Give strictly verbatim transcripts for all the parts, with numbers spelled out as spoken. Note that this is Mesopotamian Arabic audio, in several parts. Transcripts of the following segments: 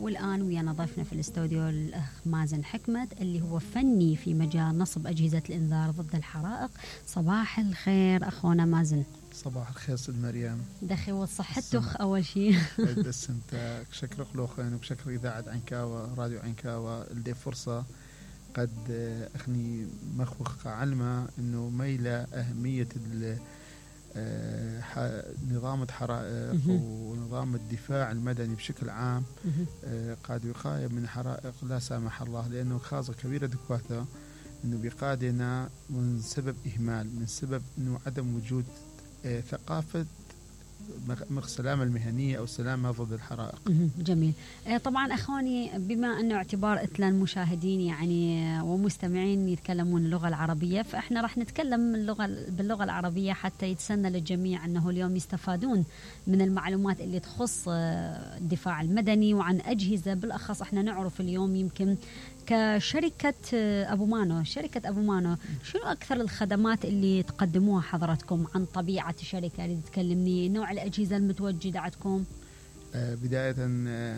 والآن ويانا ضيفنا في الاستوديو الأخ مازن حكمت اللي هو فني في مجال نصب أجهزة الإنذار ضد الحرائق. صباح الخير أخونا مازن. صباح الخير ست مريم. دخي وصحتك أول شيء. بس أنت شكر خلوخين وبشكر إذاعة عنكاوة راديو عنكاوة اللي فرصة قد أخني مخوخ علمة إنه ميلة أهمية نظام الحرائق ونظام الدفاع المدني بشكل عام قاد يقايم من حرائق لا سامح الله، لأنه خاصة كبيرة دكواثة إنه بيقادنا من سبب إهمال، من سبب إنه عدم وجود ثقافة السلامة المهنية أو السلامة ضد الحرائق. جميل. طبعا أخواني بما أنه اعتبار إثنان المشاهدين يعني ومستمعين يتكلمون اللغة العربية، فإحنا راح نتكلم اللغة باللغة العربية حتى يتسنى للجميع أنه اليوم يستفادون من المعلومات اللي تخص الدفاع المدني وعن أجهزة. بالأخص إحنا نعرف اليوم يمكن كشركة أبو مانو، شركة أبو مانو شنو أكثر الخدمات اللي تقدموها حضرتكم؟ عن طبيعة الشركة اللي تكلمني، نوع الأجهزة المتواجدة عندكم. آه بداية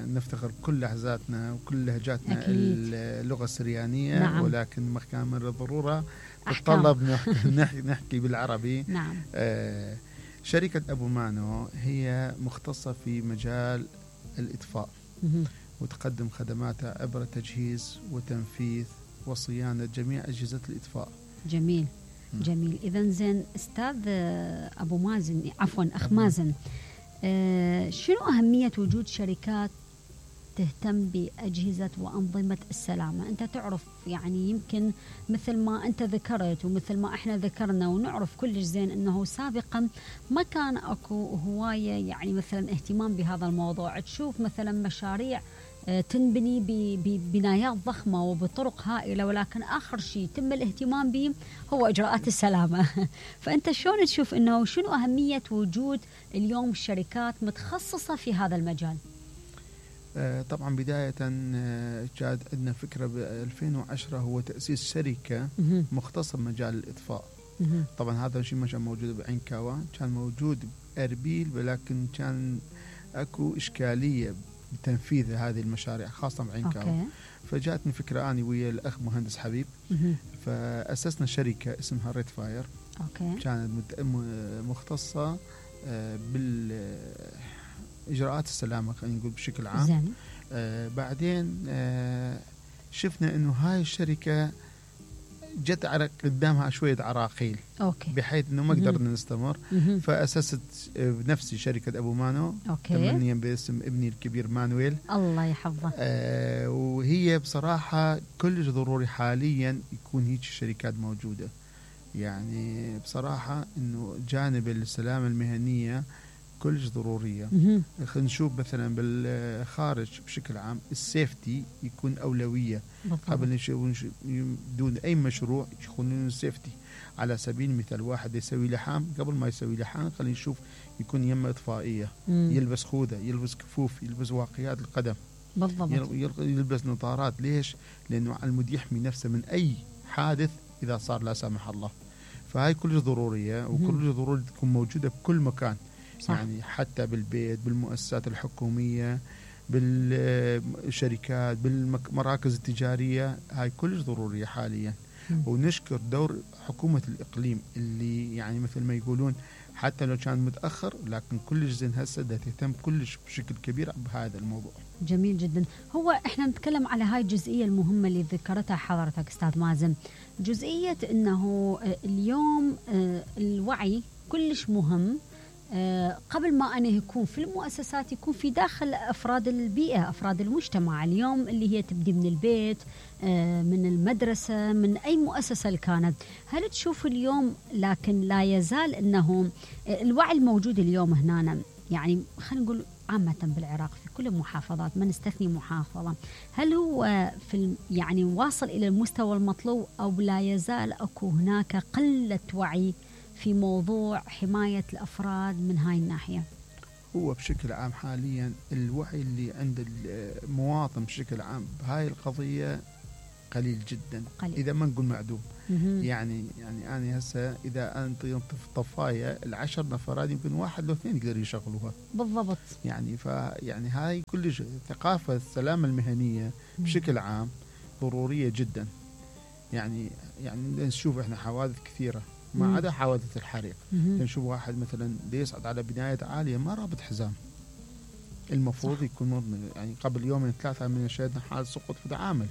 نفتخر بكل لهجاتنا وكل لهجاتنا اللغة السريانية. نعم. ولكن مكان من الضرورة تطلب نحكي, نحكي بالعربي. نعم. آه شركة أبو مانو هي مختصة في مجال الإطفاء وتقدم خدماتها عبر تجهيز وتنفيذ وصيانة جميع أجهزة الإطفاء. جميل. م. جميل. إذن زين أستاذ أبو مازن، عفوا أخ مازن، آه شنو أهمية وجود شركات تهتم بأجهزة وأنظمة السلامة؟ أنت تعرف يعني يمكن مثل ما أنت ذكرت ومثل ما إحنا ذكرنا ونعرف كلش زين أنه سابقا ما كان أكو هواية يعني مثلا اهتمام بهذا الموضوع. تشوف مثلا مشاريع تنبني ببنايات ضخمة وبطرق هائلة، ولكن آخر شيء تم الاهتمام به هو إجراءات السلامة. فأنت شلون تشوف أنه شنو أهمية وجود اليوم شركات متخصصة في هذا المجال؟ طبعا بداية جاد عندنا فكرة ب ألفين وعشرة هو تأسيس شركة مختصة بمجال الإطفاء. طبعا هذا الشيء ما كان موجود بعنكاوة، كان موجود بأربيل، ولكن كان أكو إشكالية بتنفيذ هذه المشاريع خاصة بعنكاوة. فجاءتني فكرة أنا ويا الأخ مهندس حبيب، فأسسنا شركة اسمها ريد فاير. أوكي. كانت مختصة بال إجراءات السلامة خلينا نقول بشكل عام. زين. آه بعدين آه شفنا إنه هاي الشركة جت على قدامها شوية عراقيل. أوكي. بحيث إنه ما قدرنا نستمر. فأسست بنفسي شركة أبو مانو. أوكي. تمنيا باسم ابني الكبير مانويل. الله يحفظه. آه وهي بصراحة كلش ضروري حاليا يكون هيك الشركات موجودة. يعني بصراحة إنه جانب السلامة المهنية كلش ضرورية. خلينا نشوف مثلا بالخارج بشكل عام السيفتي يكون أولوية بالضبط. قبل دون أي مشروع يكون السيفتي. على سبيل المثال واحد يسوي لحام، قبل ما يسوي لحام خلينا نشوف يكون يمة إطفائية، مم. يلبس خوذة، يلبس كفوف، يلبس واقيات القدم بالضبط، يلبس نظارات. ليش؟ لأنه على المود يحمي نفسه من أي حادث إذا صار لا سامح الله. فهاي كلش ضرورية وكلش ضروري تكون موجودة بكل مكان. صح. يعني حتى بالبيت، بالمؤسسات الحكومية، بالشركات، بالمراكز التجارية، هاي كلش ضرورية حاليا. م. ونشكر دور حكومة الإقليم اللي يعني مثل ما يقولون حتى لو كان متأخر لكن كلش زين هسه ده تهتم كلش بشكل كبير بهذا الموضوع. جميل جدا. هو احنا نتكلم على هاي الجزئية المهمة اللي ذكرتها حضرتك أستاذ مازن، جزئية أنه اليوم الوعي كلش مهم. أه قبل ما أنا يكون في المؤسسات يكون في داخل أفراد البيئة، أفراد المجتمع اليوم اللي هي تبدي من البيت، أه من المدرسة، من أي مؤسسة اللي كانت. هل تشوف اليوم لكن لا يزال أنه الوعي الموجود اليوم هنا يعني خلينا نقول عامة بالعراق في كل المحافظات ما نستثني محافظة، هل هو في يعني واصل إلى المستوى المطلوب أو لا يزال أكو هناك قلة وعي في موضوع حماية الأفراد من هاي الناحية؟ هو بشكل عام حاليا الوعي اللي عند المواطن بشكل عام بهاي القضية قليل جدا قليل. اذا ما نقول معدوم. مهم. يعني يعني انا هسه اذا انت في طفايه العشر نفرات يمكن واحد لو اثنين يقدروا يشغلوها بالضبط. يعني ف يعني هاي كلش ثقافه السلامه المهنيه بشكل عام ضروريه جدا. يعني يعني نشوف احنا حوادث كثيره ما عدا حوادث الحريق. نشوف واحد مثلا يصعد على بنايه عاليه ما رابط حزام، المفروض صح. يكون يعني قبل يومين ثلاثه من شهدنا حال سقوط في دعامل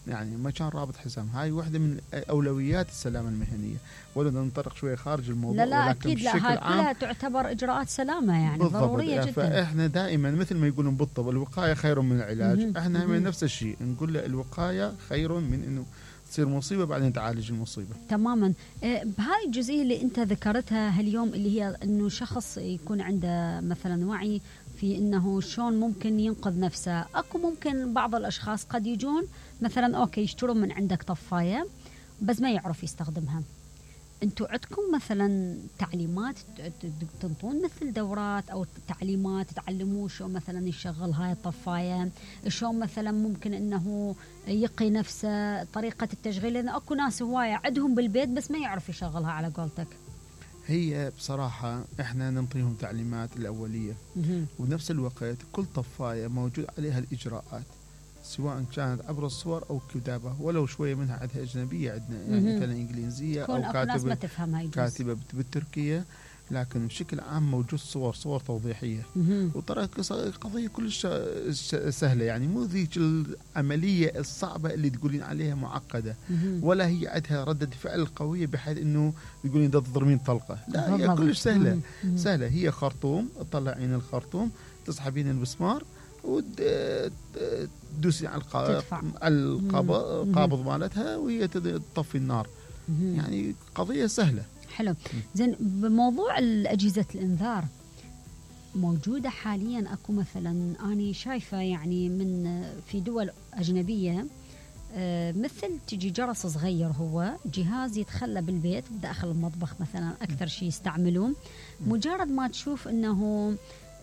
يعني ما كان رابط حزام. هاي واحده من اولويات السلامه المهنيه. ولا ننطلق شويه خارج الموضوع، لا لا اكيد لا، هاي كلها تعتبر اجراءات سلامه يعني ضروريه يعني جدا. فاحنا دائما مثل ما يقولون بالطب الوقايه خير من العلاج. مم. احنا هم نفس الشيء نقول له الوقايه خير من انه تصير مصيبه بعدين تعالج المصيبه. تماما. بهاي الجزئيه اللي انت ذكرتها هاليوم اللي هي انه شخص يكون عنده مثلا وعي في انه شلون ممكن ينقذ نفسه. اكو ممكن بعض الاشخاص قد يجون مثلا اوكي يشترون من عندك طفايه بس ما يعرف يستخدمها. انتم عندكم مثلا تعليمات تنطون مثل دورات او تعليمات تعلموه شو مثلا يشغل هاي الطفايه، شو مثلا ممكن انه يقي نفسه، طريقه التشغيل؟ لان اكو ناس هوايه عندهم بالبيت بس ما يعرف يشغلها على قولتك. هي بصراحة احنا ننطيهم تعليمات الأولية وبنفس الوقت كل طفاية موجود عليها الإجراءات سواء كانت عبر الصور أو كتابة ولو شوية منها عندها أجنبية عندنا يعني مثلا إنجليزية أو كاتبة كاتبة بالتركية، لكن بشكل عام موجود صور صور توضيحية. وترى قضية كلش سهلة يعني مو ذيك العملية الصعبة اللي تقولين عليها معقدة ولا هي عندها ردة فعل قوية بحيث انه يقولين ده تضربين طلقة. لا هي كلش سهلة. سهلة هي خرطوم تطلعين الخرطوم تسحبين المسمار وتدوسي على القابض مالتها وهي تطفي النار. يعني قضية سهلة. حلو. زين بموضوع الأجهزة الإنذار موجودة حاليا اكو مثلا أنا شايفة يعني من في دول أجنبية مثل تجي جرس صغير هو جهاز يتخلى بالبيت داخل المطبخ مثلا أكثر شيء يستعملون. مجرد ما تشوف أنه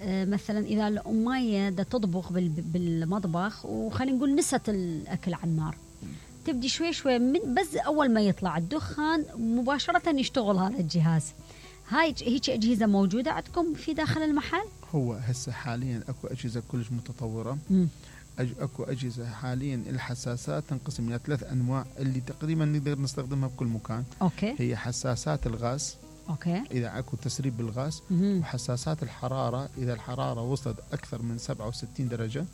مثلا إذا الأمية دا تطبخ بالمطبخ وخلينا نقول نست الأكل على النار تبدي شوي شوي من بس أول ما يطلع الدخان مباشرة يشتغل هذا الجهاز. هاي هيك أجهزة موجودة عندكم في داخل المحل؟ هو هسه حاليا أكو أجهزة كلش متطورة. أج أكو أجهزة حاليا الحساسات تنقسم إلى ثلاث أنواع اللي تقريبا نقدر نستخدمها بكل مكان. أوكي. هي حساسات الغاز. أوكي. إذا أكو تسريب بالغاز. وحساسات الحرارة إذا الحرارة وصلت أكثر من سبعة وستين درجة.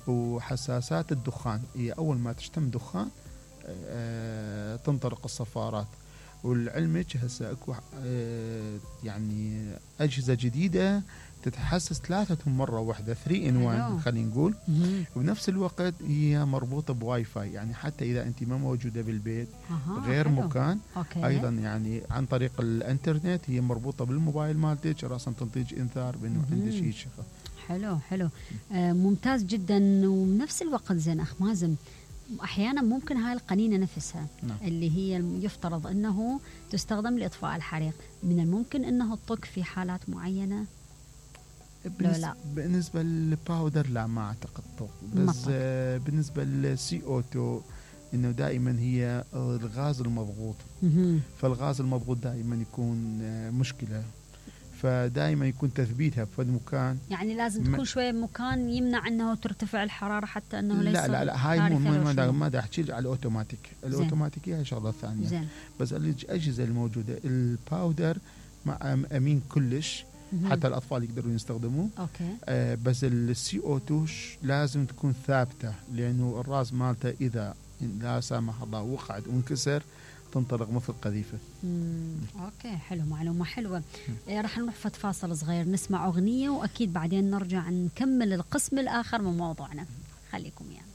وحساسات الدخان هي أول ما تشتم دخان أه تنطلق الصفارات. والعلمك هسه اكو أه يعني أجهزة جديدة تتحسس ثلاثة مرة واحدة ثري إن وان خلينا نقول. وبنفس الوقت هي مربوطة بواي فاي يعني حتى إذا أنت ما موجودة بالبيت غير حلو. مكان أوكي. أيضا يعني عن طريق الانترنت هي مربوطة بالموبايل مالتك راسا تنتج إنذار بأنه عندك شيء شغل. حلو حلو آه ممتاز جدا. وبنفس الوقت زين أخ مازن أحيانا ممكن هاي القنينة نفسها نعم. اللي هي يفترض أنه تستخدم لإطفاء الحريق من الممكن أنه تطق في حالات معينة؟ بالنسبة, لا. بالنسبة للباودر لا ما أعتقد طق. بس آه بالنسبة للسي أو تو إنه دائما هي الغاز المضغوط. فالغاز المضغوط دائما يكون آه مشكلة فدائما يكون تثبيتها في مكان يعني لازم تكون شويه مكان يمنع انه ترتفع الحراره حتى انه ليس لا لا لا هاي مو ما ما دا احكي على الاوتوماتيك. الاوتوماتيكيه هي شغله ثانيه. زين. بس الاجهزه الموجوده الباودر مع امين كلش حتى الاطفال يقدرون يستخدموه. اوكي. آه بس السي او تو لازم تكون ثابته لانه الراس مالته اذا لا سامح الله وقعت وانكسر تنطلق مثل قذيفة. اوكي حلو معلومة حلوة. إيه راح نروح فت فاصل صغير نسمع أغنية وأكيد بعدين نرجع نكمل القسم الآخر من موضوعنا. خليكم يعني.